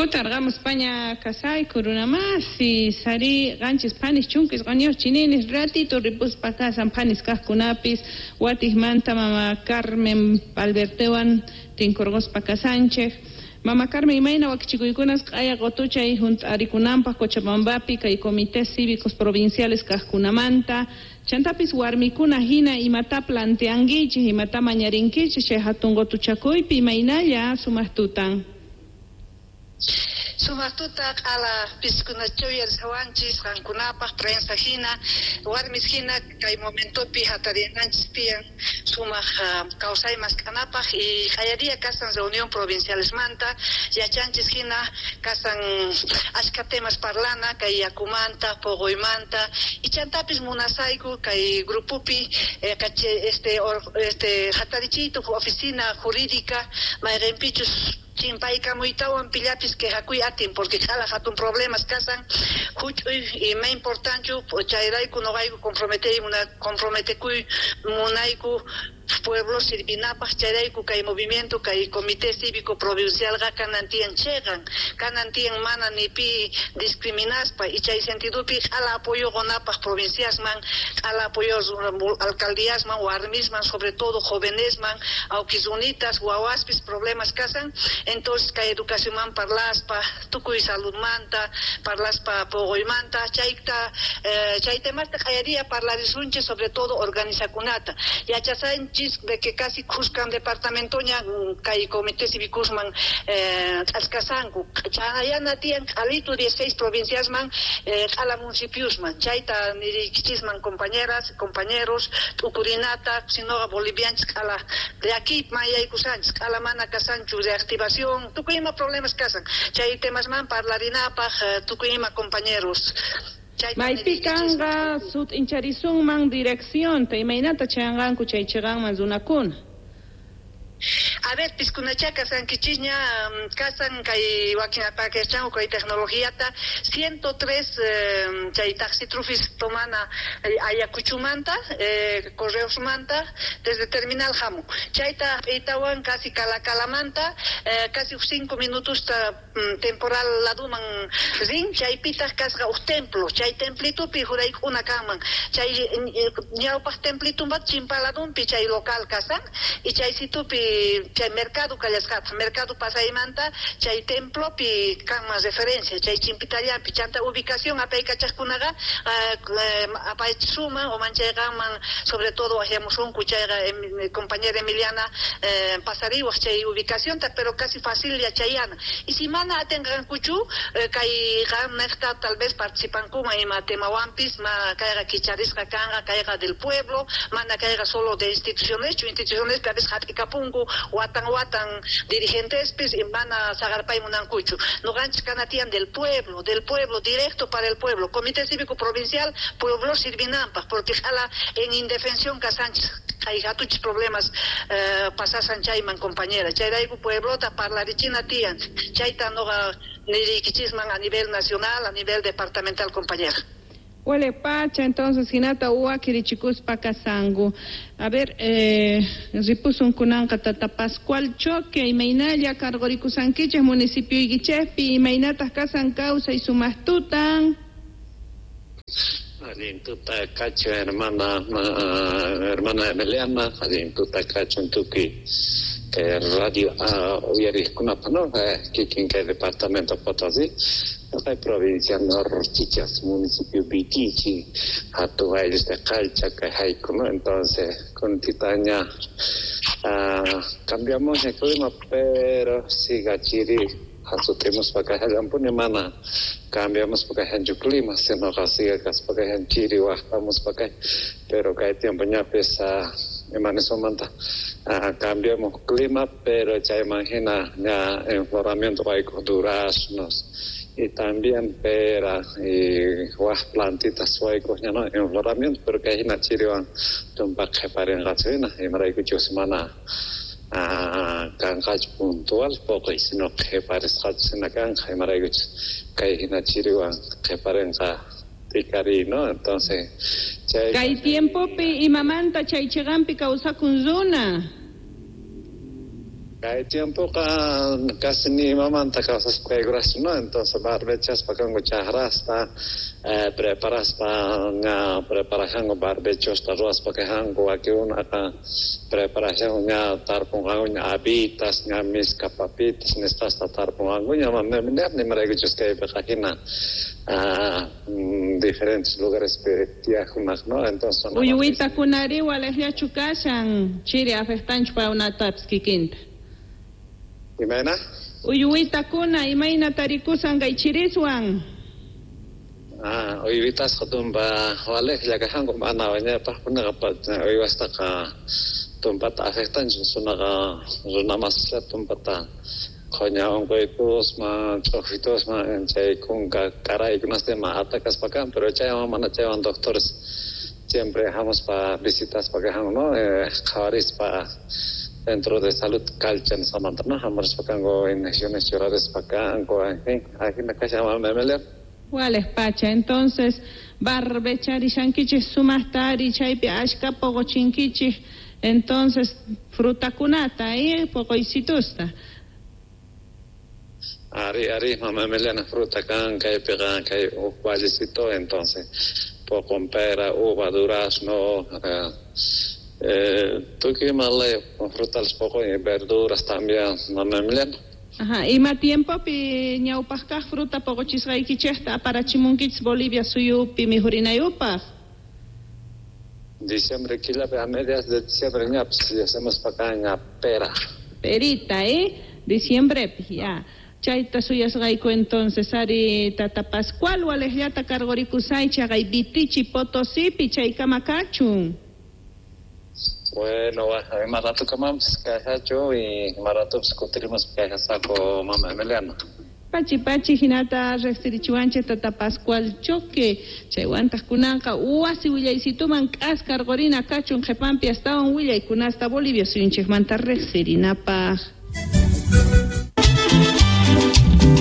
Kutarqamuspaña kasayku runamasi sari 7 phanis 19 chininis ratito ripuspa kasan phanis kajkunapis watijmanta mama Carmen Albertewan tinkurquspa kasanchej. Mama Carmen, imayna wakichikuykunas q'aya qotuchay hunt'arikunanpaq Cochabambapi kay comités cívicos provinciales kajkunamanta, chantapis warmikuna hina imata planteankichik, imata mañarinkichik chay hatun qotuchakuypi, imaynalla sumaq tutan? Sumaq tuta q'ala piskunachaw yarsawanchis qankunapaq prensa hina, warmis hina kay momentopi hatarinanchis tiyan sumaq kawsay mask'anapaq y q'ayariya kasan reunión provincialesmanta yachanchis hina kasan ashka temas parlana kay yakumanta, poqoymanta y chantapis munasayku kay grupopi este hatarichiytu oficina jurídica mayqinpichus chimpaykamuytawan pillapis quejakuy atin porque q'ala hatun problemas kasan huch'uy ima importanchu chayrayku noqayku comprometey comprometekuy munayku pueblo sirvinapaq chayrayku kay movimiento kay comité cívico provincialqa kanan tiyan cheqan kanan tiyan mana ni pi discriminaspa y chay sentidopi q'ala apoyo qonapaq provinciasman, q'ala apoyo alcaldíasman, warmisman, sobre todo jovenesman, awkisunitas, wawaspis problemas kasan. Entonces kay educacionman parlaspa, tukuy saludmanta parlaspa, poqoymanta, chayta chay temasta q'ayariya parlarisunchis, sobre todo organizakunata yachasanchis de que casi khuskan departamentoña kay comité cívicosman k'askasanku chayana tiyan q'alitu 16 provinciasman, q'ala municipiosman. Chayta niriykichisman, compañeras, compañeros, t'ukurinata, sinoqa bolivianchis q'ala llakiyman yaykusanchis, q'ala mana kasanchu reactivación, tukuy ima problemas kasan, chay temasman parlarinapaq tukuy ima, compañeros. Maypi kanqa sut'incharisunman direccionta, imaynata chayanqanku chay chiqanman runakuna? A ver, piskunacha kasankichisña, kasan kay wakin apakachanku kay tecnologiata 103 chay taxi trufis tomana Ayacuchumanta, Correosmanta, desde terminal hamu chayta itawan casi Calacalamanta casi 5 minutos temporal laduman rin, chaypitaq kasqa uj templo, chay templitupi jurayk'una kanman, chay ñawpaq templitumbat chimpaladunpi chay local kasan y chay situpi chay mercado kallasqataq, mercado pasaymanta chay templopi kanman referencia chay chimpitallapi. Chanta ubicación apaykachaqkunaqa apachisuman o manchayqanman, sobre todo waqyamusunku chayqa compañera Emiliana pasariwaq chay ubicacionta, pero casi fácil yachayana. Y si mana atinqankuchu kay qamnejta tal vez participankuman ima temawanpis ma kayqa kicharisqa kanqa, kayqa del pueblo, mana kayqa solo de institucioneschu, instituciones a veces hap'ikapunku watan watan dirigentespis y mana saqarpay munankuchu. Noqanchis kanatiyan del pueblo, del pueblo, directo para el pueblo, comité cívico provincial pueblo sirvinanpaq, porque q'ala en indefensión kasanchis, hay hatuchis problemas pasasan chayman, compañera. Chayrayku pueblota parlarichina tiyan, chayta noqa niriykichisman a nivel nacional, a nivel departamental, compañera. Huele pacha, entonces, hinata uwakirichikuspa kasanku. A ver, ripusun kunanqa tata Pascual Choque, imaynalla cargorikusankichik municipioykichikpi, imaynataq kasan kawsay, sumaq tutan? Allin tuta kachun, hermana, hermana Emiliana, allin tuta kachun tukuy kay radio uyariqkunapa, no? Kikin kay departamento Potosí, kay provincia Norchichas, municipio Vitichi, hatun ayllusta Qalcha kay hayku, no? Entonces, kuntitaña cambiamos el clima, pero siga chiri hasutimuspa kay mana cambiamos hanchu clima, sino siga kaspa kay chiri waqtamuspa kay, pero kay tiempo ñapis imanisomanta cambiamos clima, pero chayman hina ña enfloramiento waykuq duraznos y también pera y waj plantitas waykuq ña, no, enfloramiento, pero kay hina chiriwan tumpa qhiparinqachu hina, imaraykuchus mana kanqachu puntual poqoy, sino qhiparisqachu hina kanqa, imaraykuchus kay hina chiriwan qhiparinqa tikari, no? Entonces chay Kay tiempopi imamanta chay chiqanpi kawsakun runa? Kay tiempoqa casi ni imamanta kawsaspa kaykuraschu, ¿no? Entonces barbechaspa kanku chajrasta, preparaspa ña preparajanku barbechosta ruwaspa kajanku, wakinkunaqa preparajanku ña tarpunqankuña habitas, ña miska papitas nisqasta tarpunqankuña, nimaraykuchus kaypiqa hina diferentes lugarespi tiyaqkunaq, ¿no? Entonces Uywiitakunari walejllachu kashan, chiri afectanchu paykunatapis kikinta. Imayna? Uywiitakuna imayna tarikusan kay chiriswan. Uywitasqa tumpa walejlla kajanku, mana wiñaypaqkunaqa uywastaqa tumpata afectanchu, sunaqa runamasislla tumpata qhoña unquytusman, ch'uquytusman, chay kunka karaykunasta ima atakaspa kan, pero chaywan mana chaywan doctores siempre hamuspa visitaspa kajanku, ¿no? Qhawarispa Centro de Salud Calcha nisqamanta, ¿no? Hamurispa kanku inyecciones churarispa kanku, en fin, ajina kashan mama Emilia. Walej pacha, entonces barbecharishankichik sumaqta ari chaypi ashka poqochinkichik, entonces frutakunata, poqoysitusta. Ari, ari, mama Emiliana, fruta kan, kaypiqa kay uj vallecito, entonces poqon pera, uva, durazno, tukuy ima laya frutales poqon y verduras también, mama Emiliana. Ajá, ima tiempopi ñawpaq kaq fruta poqochisqaykichikta aparachimunkichis Bolivia suyupi mijurinayupaq? Diciembre killapi, a mediados de diciembre ñapis hacemos pacaña pera. Perita, Diciembrepi, ya. Chayta suyasqayku entonces, ari tata Pascual walejllata cargorikusay chaqay Vitichi Potosipi chaykama kachun. Bueno, ima ratukamapis kajachu y ima ratupis kutirimuspa kajasaqu mama Emiliana. Pachi pachi hinata riqsirichiwanchik tata Pascual Choque, chaywantaq kunanqa wasi willaysituman k'askarqurina kachun qhipanpi astawan willaykunasta Bolivia suyunchikmanta riqsirinapaq.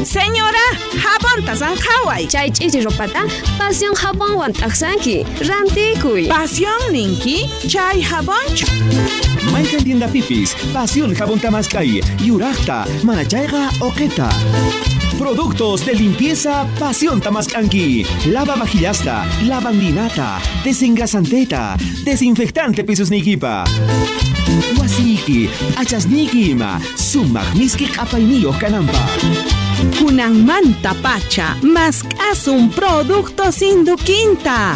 Señora, jabonta sanqhaway. Chay ch'ichi ropata Pasión jabonwan t'aqsanki. Rantikuy. Pasión ninki, chay jabonchu. Mayqan tiendapipis, Pasión jabonta mask'ay, yuraqta, mana chayqa uqita. Productos de limpieza Pasión tamask'anki. Lava vajillasta, lavandinata, desengrasanteta, desinfectante pisusniykipa. Wasiyki, achasniyki ima, sumaq miski q'apayniyuq kananpaq. Kunanmanta pacha, mask'asun productos Induquinta.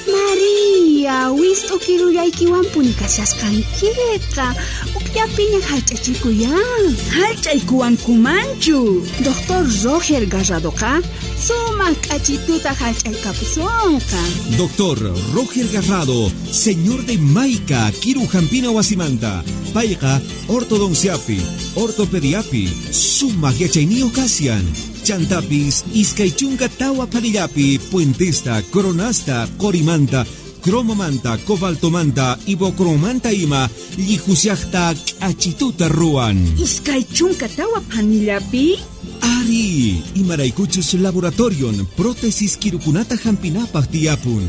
María, wist'u kirullaykiwanpuni kashasqankiqa, ukllapiña hallch'achikuyan. Hallch'aykuwankumanchu. Doctor Roger Garradoqa sumaq k'achituta hallch'aykapusunqa. Doctor Roger Garrado, señor de Maica, Kiru Jampina Wasimanta, payqa ortodonciapi, ortopediapi, sumaq yachayniyuq kashan. Chantapis, iskay chunka tawa phanillapi, puentesta, coronasta, qorimanta, cromomanta, cobaltomanta, ibocromanta ima, llijusiaqta k'achituta ruwan. Iskay chunka tawa phanillapi? Ari, imaraykuchus laboratorion prótesis kirukunata hampinapaq tiyapun.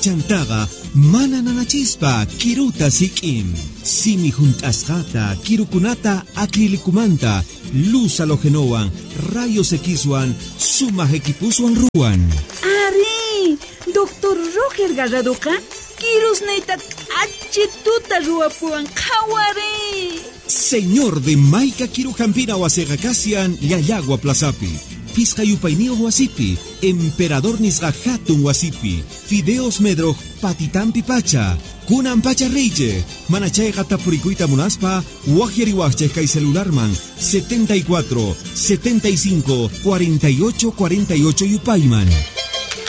Chantaqa mana nanachispa kiruta sik'in. Simi hunt'asqata kirukunata acrilicumanta, luz halogenowan, rayos Xwan, sumaq equipuswan ruwan. Ari, doctor Roger Garradoqa kirusniyta k'achituta ruwapuwan, qhawari. Señor de Maica Kirujampina wasiqa kashan Llallagua Plazapi, Pisqa yupayniyuq wasipi, Emperador nisqa hatun wasipi, Fideos Medroj patitampi pacha, kunan pacha reyche, mana chayqa tapurikuyta munaspa, waqyariwaqchej kay celularman 74 75 48 48 yupayman.